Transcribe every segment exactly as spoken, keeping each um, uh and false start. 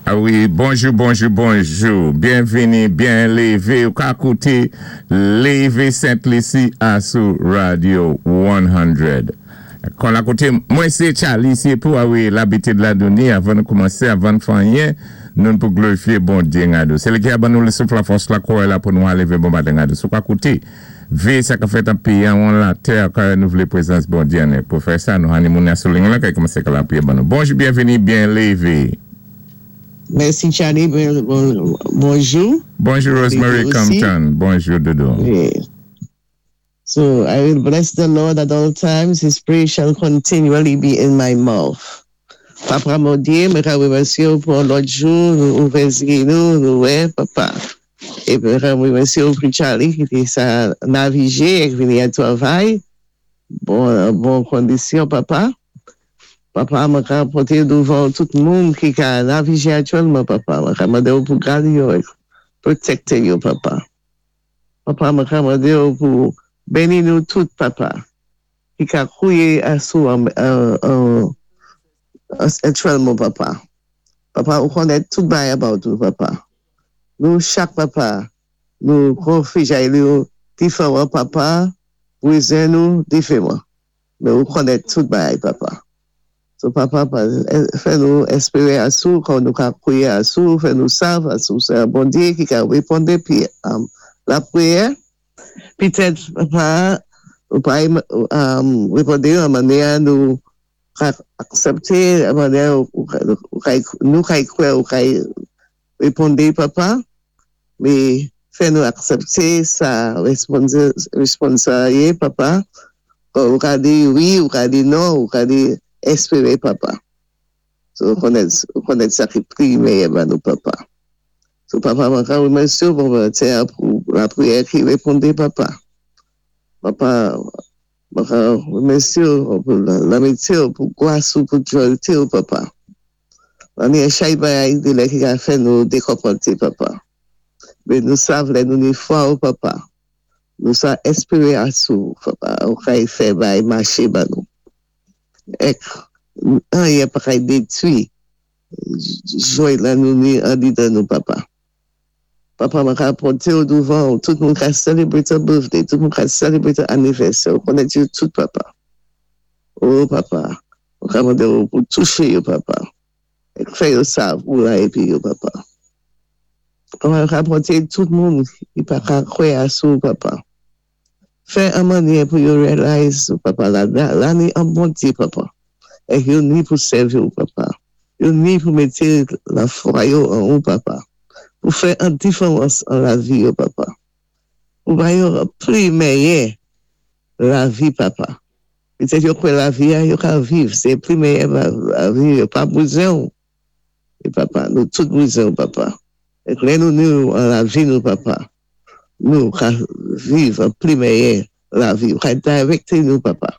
A wi, bonjou, bonjou, bonjou. Byenvini, byen lévé. Ou ka kouté Lévé Sent-Lisi asou Radio san. Kon la kouté, mwen sé Charlie, sé pou a wi labitid la doni avan nou koumansé, avan fè anyen, nou pou glorifié Bondyé ngadou. Sé li ki a ban nou le souf, la fòs, la kouwè la pou nou lévé bon maten ngadou. Sou ka kouté, vé sa ka fèt an péyi an latè, ka renouvlé pwézans Bondyé an. Pou fè sa, nou hani moun asou ling la, kay koumansé ka la priye ban nou. Bonjou, byenvini, byen lévé. Mèsi, Charlie, bon, bonjou. Bonjou, Rosemary Compton. Bonjou, Dodo. Yeah. So I will bless the Lord at all times. His praise shall continually be in my mouth. Papa Bondyé, mwen ka wémèsyé ou pou lòt jou, nou ouvè zyé nou, nou wè, papa. Épi mwen ka wémèsyé ou pou Charlie ki té sa navigé ek vini a twavay. Bon, bon kondisyon, papa. Papa, mwen ka poté douvan tout moun ki ka navigé aktyèlman, papa. Mwen ka mandé ou pou gadé yo, pwotékté yo, papa. Papa, mwen ka mandé ou pou béni nou tout, papa. Ki ka kouwé asou an, an, an, aktyèlman, papa. Papa, ou konnèt tout bagay about ou, papa. Nou chak, papa, nou konfijay nou diféwan, papa, bwézen nou diféwan. Mé ou konnèt tout bagay, papa. So, papa, fè nou espéré asou, kon nou ka pwiyé asou, fè nou sav asou, sé an Bondyé ki ka wéponn pi um, lapwiyè. Pitèt, papa, ou pa um, wéponn an mannyè nou ka aksépté, an mannyè ou, ou, nou kay kwè ou kay wéponn, papa, mé fè nou aksépté sa wéspons sa yé, papa. Ou ka di wi, ou ka di non, ou ka di espéré, papa. So, ou konnèt, ou konnèt sa ki pli méyè ban nou, papa. So, papa, mwen ka wémèsyé ou pou tè pou lapwiyè ki wéponn, papa. Papa, mwen ka wémèsyé ou pou lamityé ou, pou gwas ou, pou jwalté ou, papa. An yon chay bagay di lè ki ka fè nou dékonpanté, papa. Mé nou sav lè nou ni fwa ou, papa. Nou sa espéré asou, papa. Ou kay fè bagay maché ban nou. Ek, anyen pa kay détwi jway la nou ni andidan nou, papa. Papa, mwen ka poté ou douvan, tout moun ka celebrate a birthday, tout moun ka celebrate a anniversaire, ou konnèt yo tout, papa. Oh, papa, ou ka mandé ou pou touché yo, papa. Ek fè yo sav ou la épi yo, papa. Papa, mwen ka poté tout moun ki pa ka kwè asou, papa. Fè an mannyè pou yo realize, papa, la, la ni an Bondyé, papa. Ek yo ni pou sèvi ou, papa. Yo ni pou mété lafwa yo an ou, papa. Pou fè an diféwans an lavi yo, papa. Pou ba yo pli méyè lavi, papa. Pitèt yo kwè lavi a, yo ka viv. Sé pli méyè lavi, yo pa bwézen ou. É papa, nou tout bwézen ou, papa. Ek lè nou ni ou an lavi nou, papa. Nou ka viv an pli méyè lavi. Ou ka direkté nou, papa.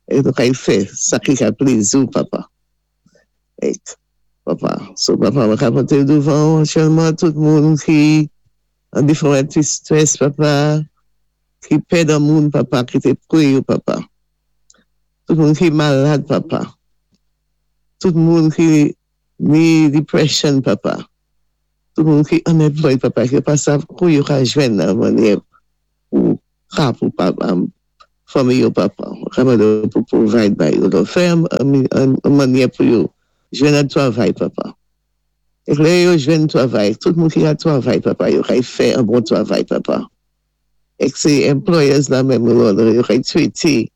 É nou kay fè sa ki ka plezi ou, papa. Ek, papa, so papa, mwen ka poté douvan aktyèlman tout moun ki an diféwan tristès, papa, ki pèd an moun, papa, ki té pwé yo, papa. Tout moun ki malad, papa. Tout moun ki ni depression, papa. Tout moun ki unemployed, papa, ki pa sav kou yo ka jwenn nan mannyè pou ka pou papa, fanmi yo, papa. Ka mande pou provide bay yo. Fè an, an, an mannyè pou yo jwenn an twavay, papa. Ek lè yo jwenn twavay, tout moun ki a twavay, papa, yo kay fè an bon twavay, papa. Ek sé employers la menm, Lord, yo kay twété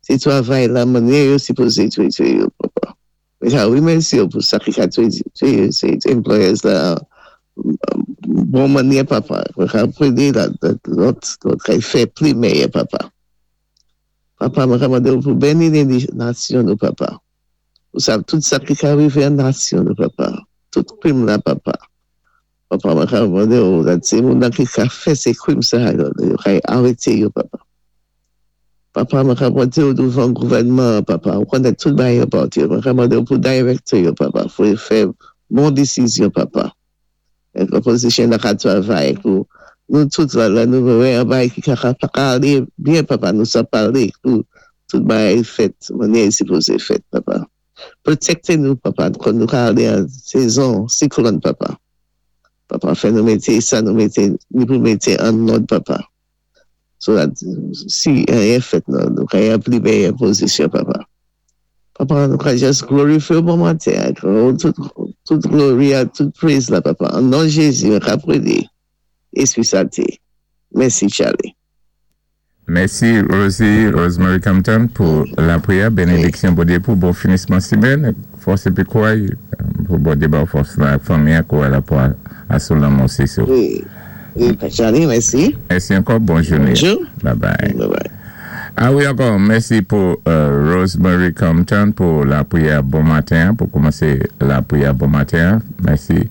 sé twavay la mannyè yo sipozé twété yo, papa. Mwen ka wémèsyé yo pou sa ki ka twété sé employers la bon mannyè, papa. Mwen ka pwédé la lòt, lòt kay fè pli méyè, papa. Papa, mwen ka mandé ou pou béni nasyon nou, papa. Ou sav tout sa ki ka rivé an nasyon nou, papa. Tout kwim la, papa. Papa, mwen ka mandé ou la sé moun nan ki ka fè sé kwim sa yo, yo kay arété yo, papa. Papa, mwen ka poté ou douvan gouvènman, papa. Ou konnèt tout bagay about yo. Mwen ka mandé ou pou direkté yo, papa. Pou yo fè bon désizyon, papa. Ek opposition la ka twavay pou nou tout la, la nou wè an bagay ki ka ka pa alé byen, papa. Nou sa palé pou tout bagay fèt, mannyè sipozé fèt, papa. Pwotékté nou, Papa, kon nou ka alé an sézon siklòn, Papa. Papa, fè nou mété sa, nou mété, ni pou mété an lòd, Papa. So that si anyen fèt nou, nou ka yon pli méyè pozisyon, Papa. Papa, nou ka just glorifyé bon maten, tout, tout glori, tout praise la, Papa. An non Jézi, mwen ka prédé. Espri Santé. Mèsi, Charlie. Mèsi, Rosie, Rosemary Compton, pou lapriyè. Bénédiksyon Bondyé pou bon finisman simèn. Fòs épi kouray pou Bondyé ba fòs la fanmi kouray la pou asou lanmò sis ou. Wi, wi, Charlie, mèsi. Mèsi ankò, bòn jounen. Bonjou. Bye bye. Bye bye. A wi, ankò, mèsi pou euh, Rosemary Compton pou lapriyè bon maten, pou koumansé lapriyè bon maten. Mèsi.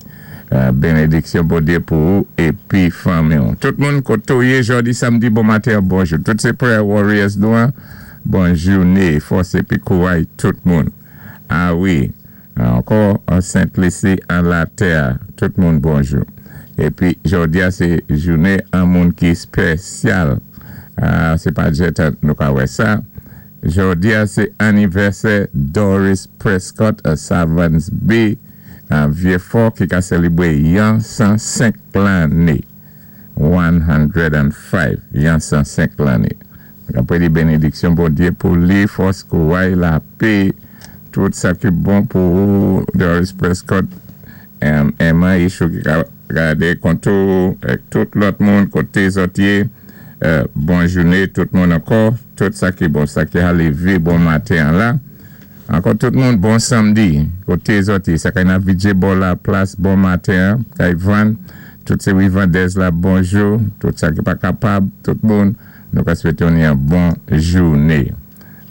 Euh, bénédiksyon Bondyé pou ou épi fanmi. Tout moun koté ou yé jòdi samdi bon maten, bonjou. Tout sé prayer warriors nou, hein. Bòn jounen, fòs épi kouray tout moun. A wi, ankò an Sent Lisi, an latè, tout moun bonjou. Épi jòdi a sé jounen an moun ki spésyal. Ah, sé pa jèt nou ka wè sa. Jòdi a sé anivèsè Doris Prescott a Savans Bay, an Vieux-Fort ki ka sélébwé yon san senk lanné. san senk, yon san senk lanné. Apwé di bénédiksyon Bondyé pou li, fòs, kouray, lapè, tout sa ki bon pou ou, Doris Prescott, um, Emma Ishou ki ka gadé kontou, ek tout lòt moun koté zòt yé, euh, bon jounen tout moun ankò, tout sa ki bon, sa ki a lévé bon maten la. Ankò tout moun bon samdi, koté zòt yé, sa kay nan Vijay bò la plas bon maten, kay vann, tout sé vendèz la bonjou, tout sa ki pa kapab, tout moun, nou ka swété yon bon jounen.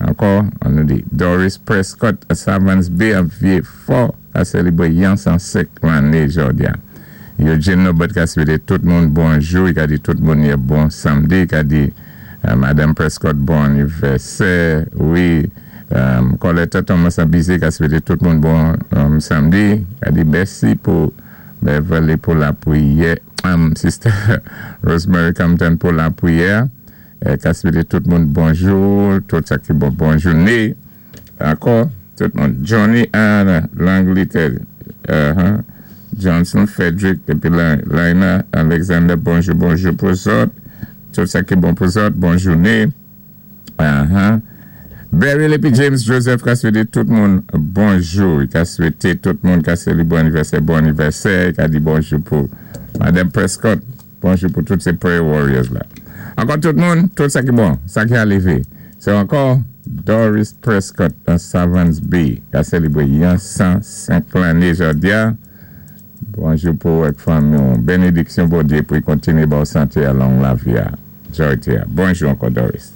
Ankò, an nou di, Doris Prescott a Savans Bay a Vieux-Fort a sélébwé yon san senk lanné jòdi a. Eugene Norbert ka swété tout moun bonjou, i ka di tout moun yon bon samdi, i ka di euh, Madame Prescott bon anivèsè, wi, um, Colette Thomas Abizé ka swété tout moun bon um, samdi, ka di mèsi pou Beverly pou lapriyè, um, Sister Rosemary Compton pou lapriyè, eh, ka swété tout moun bonjou, tout sa ki bon, bon jounen. Ankò, tout moun. Johnny Anna, Langletè, uh-huh. Johnson Frederick, épi Lina Alexander, bonjou, bonjou pou zòt. Tout sa ki bon pou zòt, bon jounen. Uh-huh. Beryl épi James Joseph ka swété tout moun bonjou. I ka swété tout moun ka sélébré bon anivèsè, bon anivèsè. I ka di bonjou pou Madame Prescott. Bonjou pou tout sé prayer warriors la. Ankò tout moun, tout sa ki bon, sa ki a lévé. Sé ankò Doris Prescott nan Savans Bay ka sélébré yon san senk lanné jòdi a. Bonjou pou ak fanmi. Bénédiksyon Bondyé pou kontiné bon santé a long lavi a. Jòdi a. Bonjou ankò Doris.